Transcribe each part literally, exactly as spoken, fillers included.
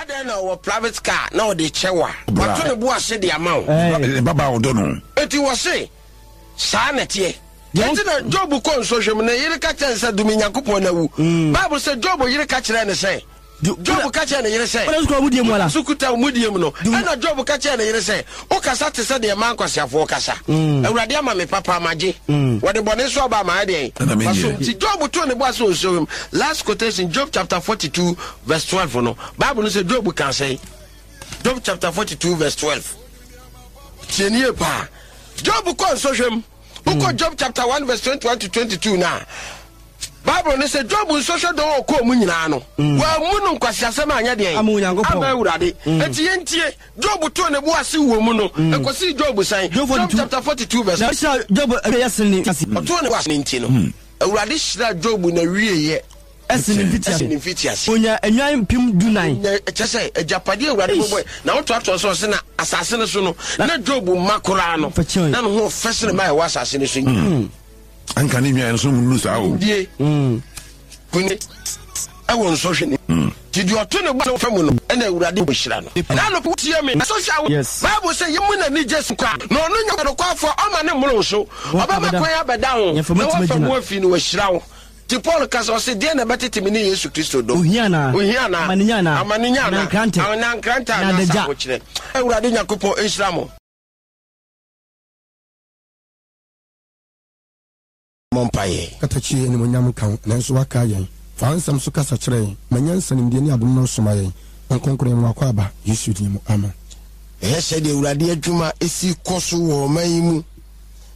Adɛn na ɔwɔ private car na ɔde kyɛ wo a, wato ne bo ase de ama wo? Ne babaa ɔdɔ no. Enti wɔse, Saa na ɛteɛ. Enti na Job kɔ nsɔhwɛ mu, ne yere ka kyerɛɛ no sɛ, Dome Nyankopɔn na wu. Bible sɛ Job yere ka kyerɛɛ no sɛ, Job ka kyerɛɛ ne yere sɛ, So kuta wo mudie mu no? Ɛnna Job ka kyerɛɛ ne yere sɛ, Wokasa te sɛ deɛ mmaa nkwaseafoɔ kasa. Awurade ama me papa, magye. Wɔde bɔne nso aba ama, ɛdeɛn? Masom. Nti Job too ne bo ase wɔ nsɔhwɛ mu. Last quotation, Job chapter forty two verse twelve no, Bible no sɛ Job kaa sɛn? Job chapter forty two verse twelve. Tie nie paa. Job kɔ nsɔhwɛ mu. Wokɔ Job chapter one verse twenty one to twenty two na Bible no sɛ Job nsɔhwɛ dɔn a ɔkɔɔ mu nyinaa no, wammu no nkwaseasɛm anyɛ deɛn? Ama Onyankopɔn. Ama Awurade. Enti yɛntie, Job too ne bo ase wɔ mu no, ɛkɔsii Job sɛn? Job Job chapter forty two verse. Na ɔhyiraa Job awieeɛ sen ne mfitiaseɛ. Ɔtoo ne bo ase no nti no, Awurade hyiraa Job n'awieeɛ Ɛsen ne mfitiaseɛ. Ɛsen ne mfitiaseɛ. Ɔnyaa nnwan mpem dunan. Ɔnya, kyerɛ sɛ, agyapadeɛ a Awurade bɔbɔe. Na wotoatoa so ɔse na asase no so no, na Job mma koraa no, na ne ho fɛ sene mma a ɛwɔ asase no so nyinaa. Anka ne nnwan no so nnuru saa o. Die. Kune ɛwɔ nsɔhwɛ no mu. Nti deɛ ɔto ne bo ase mu no, ɛna Awurade bɛhyira no. Ɛna anɔpa wotie me. Sɔhwɛ a, Yes. Bible sɛ yɛmmu n'ani gye so koraa. Na ɔno nyɛ ɔnokwafoɔ a, ɔma ne mmoro so. Ɔbɛma kwan abɛda ho, na wafa mu afi no, wahyira wo. Nti Paul ka sɛ, ɔse, Deɛn na ɛbɛtete me ne Yesu Kristo dɔ? Ohia anaa? Ohia anaa? Amanenya anaa? Amanenya Anaa anaa? nkrantɛ? Anaa nkrantɛ Anaa anaa adagya? ahokyerɛ? Awurade Nyankopɔn nhyira mo. Mmɔ mpaeɛ. Katakyie, animuonyam nka wo, nanso woakae yɛn. Fa wo nsɛm so kasa kyerɛ yɛn. Ma nyansa, nimdeɛ ne adom no soma yɛn. Honhom Kronkron yɛma wo akwaaba, Yesu din mu, amen. Hwɛ sɛdeɛ Awurade adwuma si kɔ so wɔ ɔman yi mu.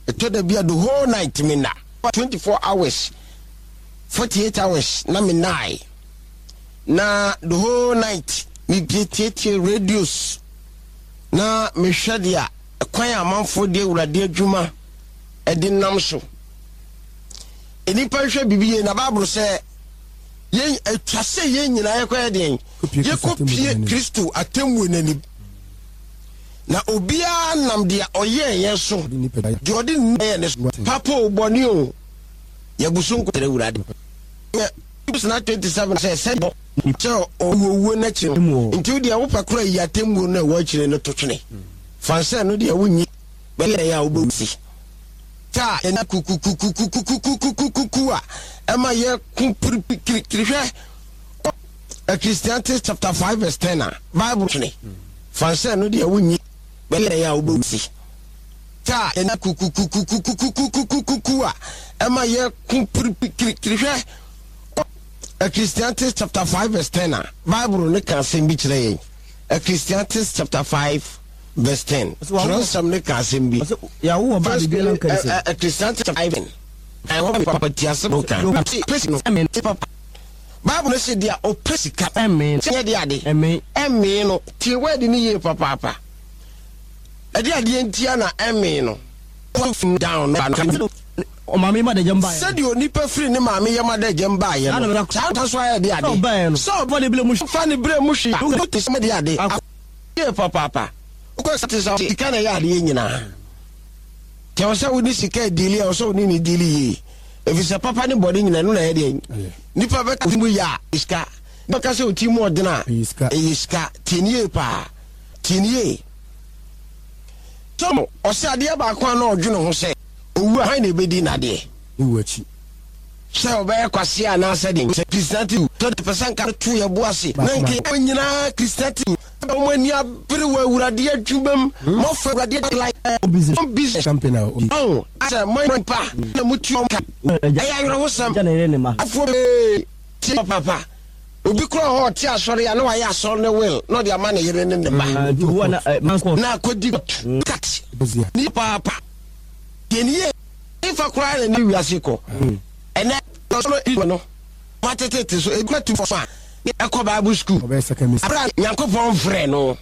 Ɛtɔ da bi a the whole night me nna. Twenty four hours, forty eight hours na me nnae. Na the whole night me bie tietie radios na mehwɛ deɛ kwan a amanfoɔ de Awurade adwuma de nam so. Nnipa nhwɛ biribi yie na Bible sɛ yɛn atwa sɛ yɛn nyinaa yɛkɔyɛ deɛn? Yɛkɔpie Kristo atemmuo no anim. Na obiara nam deɛ ɔyɛɛ yɛn so, deɛ ɔde ne yɛɛ ne so, papa o, bɔne o, yɛgu so nkɔkyerɛ Awurade. Sena twenty seven sɛ sɛ bɔ sɛ ɔwuo n'akyi no, nti wo deɛ wopɛ kora yi atemmuo no a ɛwɔ akyire no to twene. Fa sɛ no deɛ wonyi bɛyɛ yɛ a wobɛwu si. Ta yɛn kukukukukukukukukuku a ɛma yɛko pirikirikiri. Hwɛ Ecclesiastes chapter five verse ten a Bible twene. Fa sɛ no deɛ wonyi bɛyɛ yɛ a wobɛwu si. Ta yɛn kukukukukukukukukuku a ɛma yɛko pirikirikiri. Hwɛ Ecclesiastes chapter five verse ten a Bible ne ka asɛm bi kyerɛ yɛn. Ecclesiastes chapter five verse ten. Twerɛnsɛm ne ka asɛm bi. First Ecclesiastes chapter five ten. Ɛhɔ papa ti asɛm no ka. Pesi no papa. Bible no sɛ deɛ ɔpɛ sika sɛ yɛ de ade ɛmee no. Tie word no yie papaapa. Ɛde adeɛ ntia na ɛmee no. Down no. Sɛdeɛ onipa firi ne maame yam adagyam baeɛ no, saa na so ayɛ de ade. Sɛ ɔfa ne berɛ mu hwee a, wote sɛ de ade. Yie papaapa. Wokɔ sɛ te sɛ sika na ɛyɛ adeɛ nyinaa. Nti ɛwɔ sɛ wode sika diili a, ɛwɔ sɛ wode ne diili yie. Ɛfiri sɛ papa ne bɔne nyinaa ɛno na ɛyɛ deɛ. Nipa bɛka ɔti mu yɛ a, sika. Nipa ka sɛ ɔti mu ɔdene a, ɛyɛ sika. Tie ne yie paa. Tie ne yie. So ɔsɛ adeɛ baako a na ɔdwene ho sɛ owu a hwan na ɛbɛdi n'adeɛ? Ne wu akyi. Sɛ ɔbɛyɛ kwasea anaasɛ den. Sɛ Christianity tɔ de pɛ sɛ nka to yɛ bo ase na nka yɛn nyinaa Christianity wɔn ani abere wɔ Awurade adwuma mu. Mɔfra Awurade like business. Company a obi. Ɔn sɛ mo nipa na mo tu ka. Ɛyɛ awerɛhosɛm. Afoɔ bee tie papa. Obi kura hɔ ɔte asɔre a na wayɛ asɔre ne will na ɔde ama ne yere ne ne ba. Na akɔdi kat. Ni paapa. Deɛ ni yie nfa koraa na ne wiase kɔ. Ɛnɛ ɔsoro no matetete so ebi tu fɔ a ɛkɔ Bible school. Abira Nyankopɔn frɛ no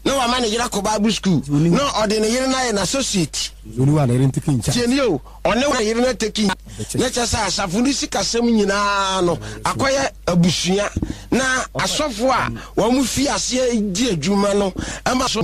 na wama ne yere akɔ Bible school na ɔde ne yere no ayɛ n'associate. Tie ni o, ɔne ne yere no ateki na kyerɛ sɛ asafo no sikasɛm nyinaa no akɔyɛ abusua na asɔfo a wɔn fi aseɛ di adwuma no ɛma so.